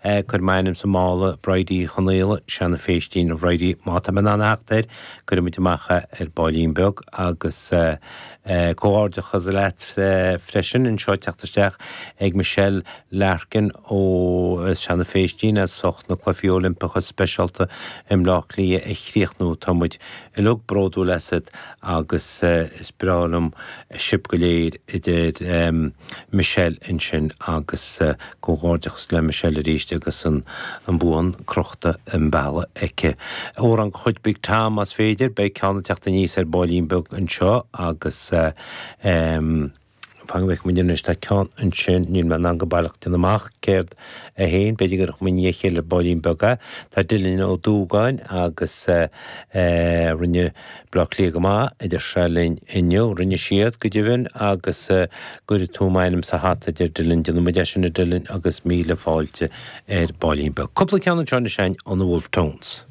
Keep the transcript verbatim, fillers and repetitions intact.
Cuir m'ainm sa mála, Bridie Chonaola, Seanadh Phéistín, a Bhridie, má tá mé in ann a theacht air, cuirfimid amach é ar baillín beag agus comhghairdeachas leat freisin anseo ag teacht isteach ag Michelle Larkin ó Seanadh Phéistín as ucht na Cluichí Oilimpeacha Speisialta i mBleá Cliath a chríochnú. Tá muid uilig bródúil asat agus is breá liom sibh go léir, a deir Michelle ansin agus comhghairdeachas le Michelle arís agus an bua crochta i mbealach aici. Amhrán de chuid Big Tom más féidir, beidh ceann ag teacht aníos ar baillín beag anseo agus fan go bhfeicfidh muid anois, tá ceann ansin, níl mé in ann go baileach déanamh amach céard é féin, b'fhéidir go gcuirfidh muid i ndiaidh a chéile ar baillín beag é. Tá Dylan Ó Dúgáin agus rinne Bleá Cliath go maith, a deir sé linn inniu. Rinne siad, go deimhin, agus go gcuirfidh tú m'ainm sa hata, a deir Dylan. Déanfaidh muid é sin, a Dylan, agus míle fáilte ar baillín beag. Cúpla ceann anseo anois ó na Wolfe Tones.